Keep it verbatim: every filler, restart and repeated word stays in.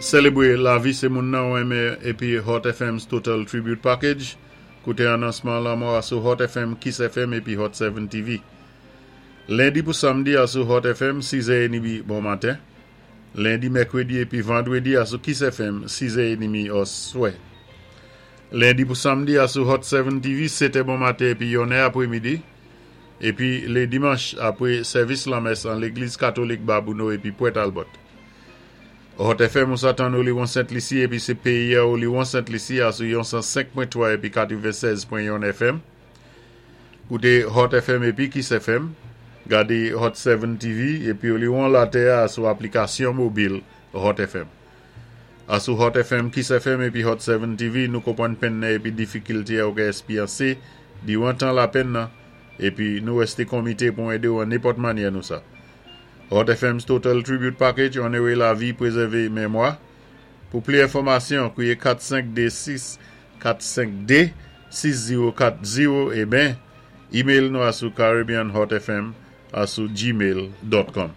Sélébwé lavi sé moun nan ou enmen épi Hot F M's Total Tribute Package. Kouté anonsman lanmò asou Hot F M, Kiss F M épi Hot sept T V. Lendi pou samdi asou Hot F M, sis è edmi bon maten. Lendi, mèkwédi épi vandwédi asou Kiss F M, sis è edmi oswè. Lendi pou samdi asou Hot sept T V, sèt è bon maten épi yon è apwémidi. Épi lé dimanch apwé sèvis lanmès an légliz katolik Babouno épi Pwent Albert. Hot F M ou sa tann Oliwon Sent Lisi épi sé péyi Oliwon Sent Lisi asou yon san senk pwen twa épi katwennsèz pwen yon F M. Kouté Hot F M épi Kiss F M. Gadé Hot sept T V épi Oliwon latè asou aplikasyon mobil Hot F M. Asou Hot F M, Kiss F M épi Hot sept T V, nou konpwann penn nan épi difikilté ou ka éspéryansé diwan tan lapenn nan épi nou wésté komité pou édé ou an nenpòt mannyè nou sa. Hot F M's Total Tribute Package, onoré lavi, pwézèvé mémwa. Pou plis enfòmasyon, kwiyé kat senk dé sis kat senk dé sis zéwo kat zéwo é ben email nou asou caribbeanhotfm asou gmail dot com.